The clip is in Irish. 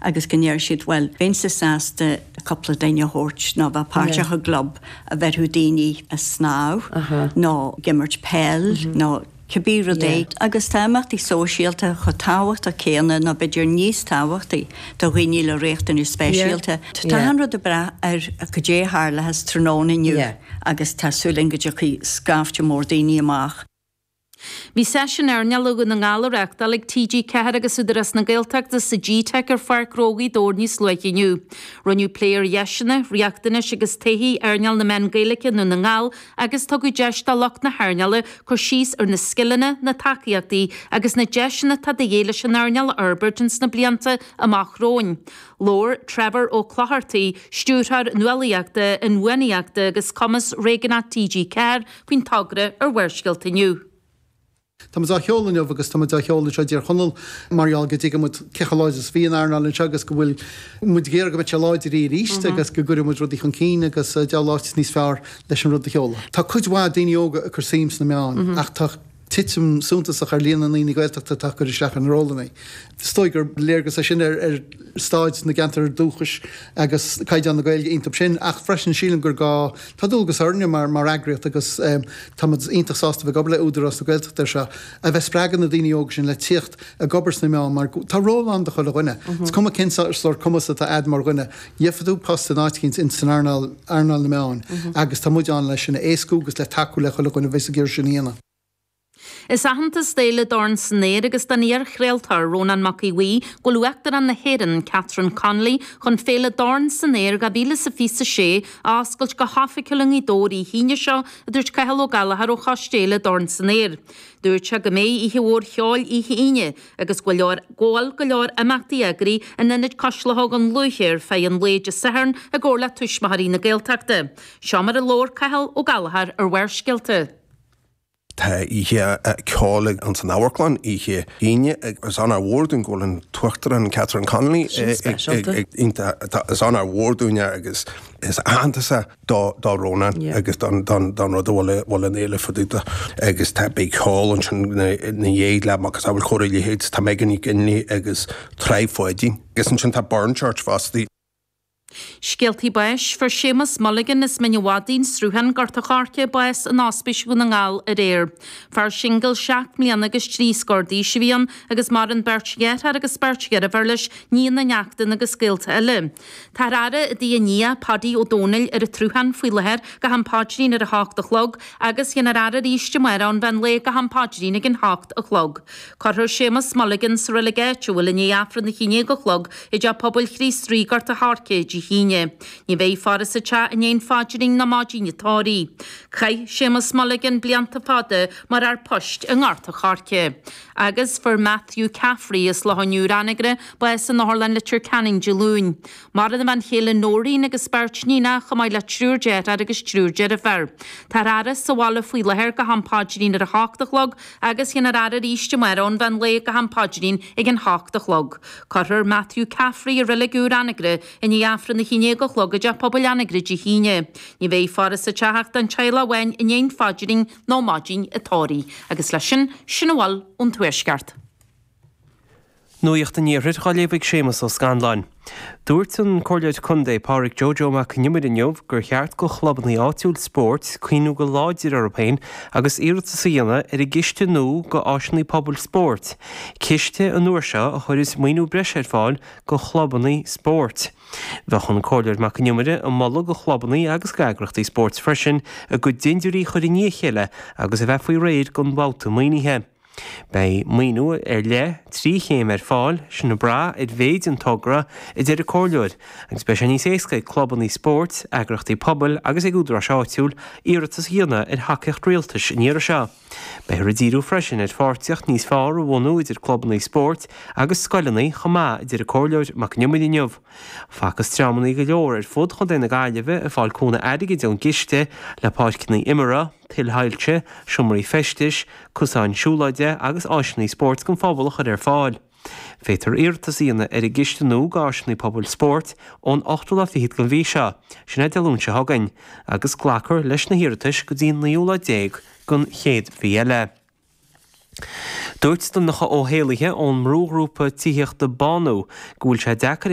agus go ndeir siad bhuel bheinnse sásta cúpla duine a thabhairt nó bheith páirteach i gclub a bheirfeadh daoine ag snámh nó ag imirt peil nó cibé rud é. Agus tá imeachtaí sóisialta chomh tábhachtach céanna nó b'fhéidir níos tábhachtaí do dhaoine le riachtanais speisialta. Tá achan rud ag brath ar cad é a tharlóchas tráthnóna inniu agus tá súil againn go dtiocfaidh scaifte mór daoine amach. Bhí seisiún airneáil Dhún na nGall á reáchtáil ag TG4 agus Údarás na Gaeltachta sa G-Teic ar Pháirc Ghnó Ghaoth Dobhair níos luaithe inniu. Rinneadh plé ar dheiseanna, riachtanais agus taithí earnáil na meán Gaeilge i nDún na nGall agus tugadh deis do lucht na hearnála cur síos ar na scileanna, na tacaíochtaí agus na deiseanna atá de dhíth leis an earnáil a fhorbairt ins na blianta amach romhainn. Labhair Trevor Ó Clochartaigh, Stiúrthóir Nuálaíochta, Inbhuanaitheachta agus Cumas Réigiúnach TG4, faoin togra ar Bharrscéalta inniu. Tá muid á sheoladh inniu agus tá muid á sheoladh anseo i dTír Chonaill mar gheall go dtuigeann muid cé chomh láidir is a bhí an earnáil anseo agus go bhfuil muid ag iarraidh go mbeidh sé láidir arís agus go gcuirfidh muid rudaí chun cinn agus diabhal áit níos fearr leis an rud a sheoladh. Tá cuid mhaith daoine óga ag cur suim sna meáin ach tá titim suntasach ar líon na ndaoine Gaeltachta atá ag cur isteach ar na rólanna. Is dóigh gur léargas é sin ar staid na gceantar dúchais agus caighdeán na Gaeilge iontu sin ach freisin sílim gur gá, tá dualgas orainne mar mar eagraíocht agus tá muid iontach sásta bheith ag obair le Údarás na Gaeltachta ar seo, a bheith ag spreagadh na daoine óga sin le tíocht ag obair sna meáin mar tá ról ann do chuile dhuine. Is cuma cén sórt cumas atá a'd mar dhuine, gheobhaidh tú post in áit eicínt in san earnáil, earnáil na meáin agus tá muid ann leis sin a éascú agus le tacú le chuile dhuine a bheas ag iarraidh sin a dhéanamh. Is aitheantas d'Fhéile Dorn san Aer agus don iar-chraoltóir Rónán Mac Aodha Bhuí go bhfuil Uachtarán na hÉireann, Catherine Connolly, chun Féile Dorn san Aer 2026 a oscailt go hoifigiúil i nGaoth Dobhair oíche Aoine seo, a dúirt Cathal Ó Gallchóir ó Choiste Fhéile Dorn san Aer. Dúirt sé go mbeidh oíche mhór cheoil oíche Aoine agus go leor go bhfuil go leor imeachtaí eagraithe in Ionad Cois Locha Dhún Lúiche ar feadh an lae Dé Sathairn i gcomhar le Tuismitheoirí na Gaeltachta. Seo mar a labhair Cathal Ó Gallchóir ar Bharrscéalta. Tá oíche ceoil ins an amharclann oíche Aoine agus is onóir mhór dúinn go bhfuil an tUachtarán Catherine Connolly Sin speisialta. iontach. Is onóir mhór dúinn é agus is aitheantas é do Rónán agus don rud a bhfuil an fhéile fá dtaobh de. Agus tá beidh ceol ansin ina dhiaidh le macasamhail Chór Uí Leithéid, tá Megan Nic Fhionnghaile agus Tribe Pháidín. Agus ansin tá Burnchurch fosta. Scéaltaí báis, Fuair Séamus Mulligan as Mín an Mhadaidh, An Sruthán, Gort a' Choirce, bás in Ospís Dhún na nGall aréir. Fear singil seacht mbliana agus trí scór d'aois a bhí ann agus maireann beirt dheartháir agus beirt dheirféar leis, níon, neachtain agus gaolta eile. Táthar á fhaire i dtigh a nia, Paddy Ó Dónaill, ar an tSruthán faoi láthair go ham paidrín ar a hocht a chlog agus dhéanfar faire arís amárach ón mheán lae go ham paidrín ag an hocht a chlog. Cuirfear Séamus Mulligan sa reilig áitiúil i ndiaidh Aifreann a haon déag a chlog i dTeach Pobail Chríost Rí, Gort a' Choirce, Dé hAoine. Ní bheidh faire sa teach i ndiaidh an phaidrín ná maidin an tórraimh. Chaith Séamus Mulligan blianta fada mar fhear poist i nGort a' Choirce. Agus fuair Matthew Caffrey as Loch an Iúir, Anagaire, bás in Otharlann Leitir Ceanainn Dé Luain. Maireann a bhean chéile Noreen agus beirt níonach, chomh maith le triúr deartháir agus triúr deirféar. Táthar á fhaire sa bhaile faoi láthair go ham paidrín ar a hocht a chlog agus dhéanfar faire arís amárach ón mheán lae go ham paidrín ag an hocht a chlog. Cuirfear Matthew Caffrey i reilig úr Anagaire i ndiaidh Aifreann a haon déag a chlog i dTeach Pobail Anagaire Dé hAoine. Ní bheidh faire sa teach ach don teaghlach amháin i ndiaidh an phaidrín nó maidin an tórraimh. Agus leis sin, sin a bhfuil ón Tuaisceart. Nuacht an Iarthair á léamh ag Séamus Ó Scanláin. Dúirt an Comhairleoir Contae Pádraig Joe Joe Mac Con Iomaire inniu gur cheart go chlubanna áitiúil spóirt cuimhniú go láidir orthu féin agus iarratas a dhéanamh ar an gciste nua go áiseanna pobail spóirt, ciste an uair seo a chuirfeas maoiniú breise ar fáil go chlubanna spóirt. Bheadh an Comhairleoir Mac Con Iomaire ag moladh go chlubanna agus go eagrachtaí spóirt freisin a gcuid dindiúirí a chur i ndiaidh a chéile agus a bheith faoi réir don bhabhta maoinithe. Beidh maoiniú ar leith 3 chéim ar fáil, sin ag brath ar mhéid an togra, a deir an Comhairleoir, agus beidh sé níos éasca ag clubanna spóirt, eagrachtaí pobail agus ag údaráis áitiúil iarratas a dhéanamh ar thacaíocht rialtais an iarraidh seo. Beifear ag díriú freisin ar pháirtíocht níos fearr a bhunú idir clubanna spóirt agus scoileanna chomh maith, a deir an Comhairleoir Mac Con Iomaire inniu. Facthas dreamanna go leor ar fud Chontae na Gaillimhe ag fáil cúnamh airgid ón gciste le páirceanna imeartha, tuilshoilse, seomraí feistis, cosáin siúlóide agus áiseanna spóirt don phobal a chur ar fáil. Féadfar iarratas a dhéanamh ar an gciste nua d'áiseanna pobail spóirt ón ochtú lá fichead den mhí seo, sin é Dé Luain seo chugainn, agus glacfar leis na hiarratais go dtí an naoú lá déag den chéad mhí eile. Dúirt Donncha Ó hÉallaithe ón mbrúghrúpa tithíochta Bánú go bhfuil sé deacair a.